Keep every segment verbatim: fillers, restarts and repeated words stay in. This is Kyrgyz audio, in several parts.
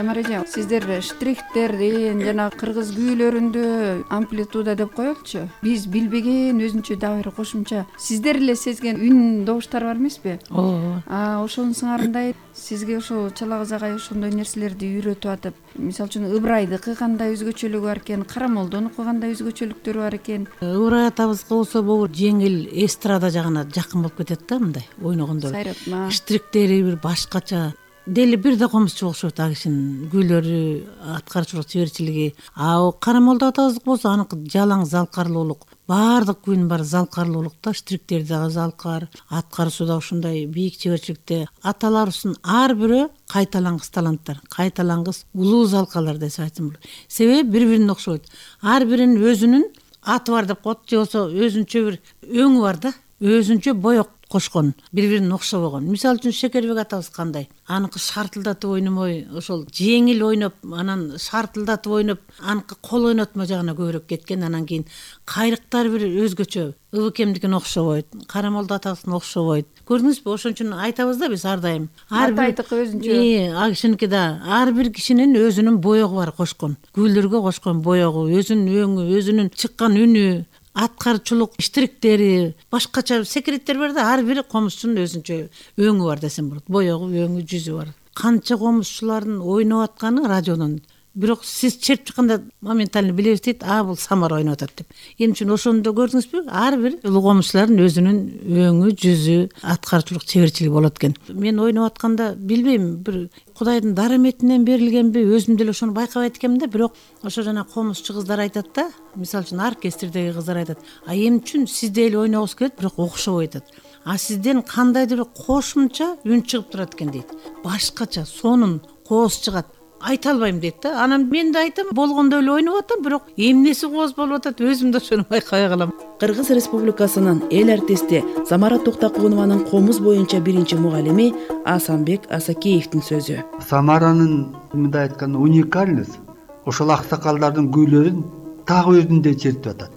Самара эже, сиздер штрихтердин жана кыргыз күүлөрүндө амплитуда деп коелучу, биз билбеген өзүнчө дагы бир кошумча сиздер эле сезген үн добуштар бар эмеспи? Ооба. А ошонун сыңарындай сизге ошол чала кыз агай ошондой нерселерди үйрөтүп атып, мисалы үчүн Ыбырайдыкы кандай өзгөчөлүгү бар экен, Карамолдонуку кандай өзгөчөлүктөрү бар экен? Ыбырай атабызга болсо могу жеңил эстрада жагына жакын болуп кетет да, мындай ойногондор. Сайратма. Штриктери бир башкача. Дели бир да комузчу окшойт а кишинин күйлөрү, аткарчылык чеберчилиги. А Карамолдо атабыздык болсо аныкы жалаң залкарлуулук. Баардык күйүн бар залкарлуулук да, штриктери дагы залкар, аткаруусу да ушундай бийик чеберчиликте. Аталарыбыздын ар бирөө кайталангыс таланттар, кайталангыс улуу залкалар десе айтсам болот. Себеби бири-бирине окшойт. Ар биринин өзүнүн аты бар деп коет, же болсо өзүнчө бир өңү бар да, өзүнчө боек кошкон, бири-бирине окшобогон. Мисалы үчүн Шекербек атабыз кандай? Аныкы шартылдатып ойномой, ошол жеңил ойноп, анан шартылдатып ойноп, аныкы кол ойнотмо жагына көбүрөөк кеткен. Анан кийин кайрыктар бир өзгөчө. Ыбыкемдикине окшобойт, Карамолдо атабыздыкына окшобойт. Көрдүңүзбү? Ошон үчүн айтабыз да биз ар дайым. Ар айтыкы өзүнчө. Э, а кишиники да ар бир кишинин өзүнүн боегу бар кошкон. Күйлөргө кошкон боегу, өзүнүн өңү, өзүнүн чыккан үнү, аткарчылык штриктери, башкача секреттер бар да, ар бир комузчунун өзүнчө өңү бар десем болот. Боегу, өңү, жүзү бар. Канча комузчулардын ойноп атканы радиодон. Бирок сиз чертип чыкканда моментально билебиз дейт, а бул Самара ойноп атат деп. Эмне үчүн ошондо көрдүңүзбү? Ар бир улуу комузчулардын өзүнүн өңү, жүзү, аткарчылык чеберчилиги болот экен. Мен ойноп атканда билбейм, бир Кудайдын дараметинен берилгенби, өзүм деле ошону байкабайт экенмин да, бирок ошо жана комузчу кыздар айтат да, мисалы үчүн оркестрдеги кыздар айтат, а эмне үчүн сиздей эле ойногубуз келет, бирок окшобой атат. А сизден кандайдыр бир кошумча үн чыгып турат экен дейт. Башкача сонун кооз чыгат. Айта албайм дейт да. Анан мен да айтам, болгондой эле ойноп атам, бирок эмнеси кооз болуп атат, өзүм да ошону байкабай калам. Кыргыз Республикасынын эл артисти Самара Токтокунованын комуз боюнча биринчи мугалими Асанбек Асакеевдин сөзү. Самаранын мындай айтканда уникальность ошол аксакалдардын күйлөрүн так өзүндөй чертип атат.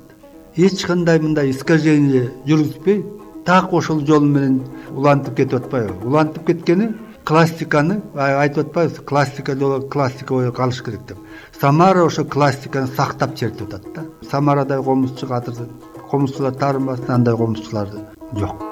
Эч кандай мындай искажение жүргүзбөй, так ошол жол менен улантып кетип атпайбы? Улантып кеткени классиканы айтып атпайбыз, классика жолу классика боюп калыш керек деп. Самара ошо классиканы сактап чертип атат да. Самарадай комузчу кадыр комузчулар таарынбасын, андай комузчулар жок.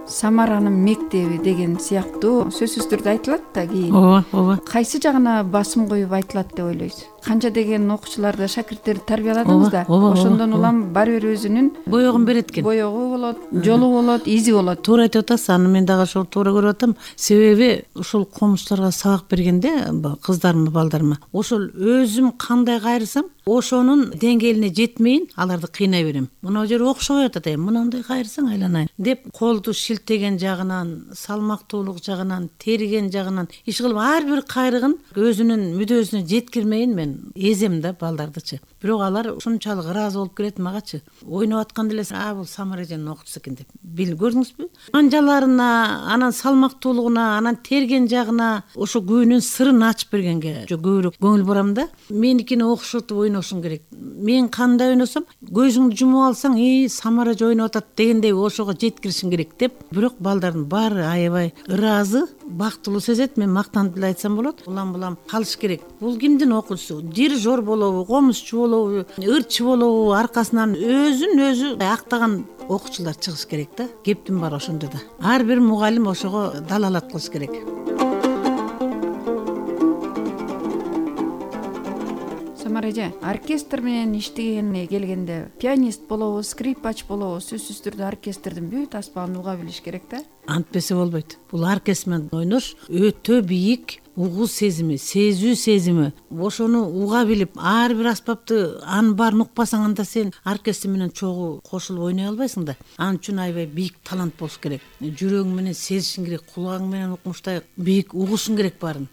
Самаранын мектеби деген сыяктуу сөзсүз түрдө айтылат да кийин. Ооба, ооба. Кайсы жагына басым коюп айтылат деп ойлойсуз? Канча деген окуучуларды, шакирттерди тарбияладыңыз да, ошондон улам баары бир өзүнүн боегун берет экен. Боегу болот, жолу болот, изи болот. Туура айтып атасыз, аны мен дагы ошол туура көрүп атам. Себеби ошол комузчуларга сабак бергенде, кыздарыма, балдарыма, ошол өзүм кандай кайрысам, ошонун деңгээлине жетмейин, аларды кыйнай берем. Мына жер окшобой атат, мындай кайрысаң айланайын деп, колду шилтеген жагынан, салмактуулук жагынан, терген жагынан, иш кылып ар бир кайрыгын өзүнүн мүдөөсүнө жеткирмейин мен эзем да балдардычы. Бирок алар ушунчалык ыраазы болуп келет магачы. Ойноп атканда эле, а бул Самара эженин окуучусу экен деп. Бил көрдүңүзбү? Анжаларына, анан салмактуулугуна, анан терген жагына, ошо күүнүн сырын ачып бергенге көбүрөөк көңүл бурам да. Меникини окшотуп ойношуң керек. Мен кандай ойносом, көзүңдү жумуп алсаң, и Самара эже ойноп атат дегендей ошого жеткиришиң керек деп. Бирок балдардын баары аябай ыраазы, бактылуу сезет. Мен мактанып эле айтсам болот. Улам-улам калыш керек. Бул кимдин окуучусу? Дирижер болобу, комузчу болобу, ырчы болобу, аркасынан өзүн өзү актаган окуучулар чыгыш керек да. Кептин бар ошондо да. Ар бир мугалим ошого далалат кылыш керек. Самара эже, оркестр менен иштегенине келгенде, пианист болобу, скрипач болобу, сөзсүз түрдө оркестрдин бүт аспабын уга билиш керек да. Антпесе болбойт. Бул оркестр менен ойнош өтө бийик угуу сезими, сезүү сезими. Ошону уга билип, ар бир аспапты анын баарын укпасаң, анда сен оркестр менен чогуу кошулуп ойной албайсың да. Анын үчүн аябай бийик талант болуш керек. Жүрөгүң менен сезишиң керек, кулагың менен укмуштай бийик угушуң керек баарын.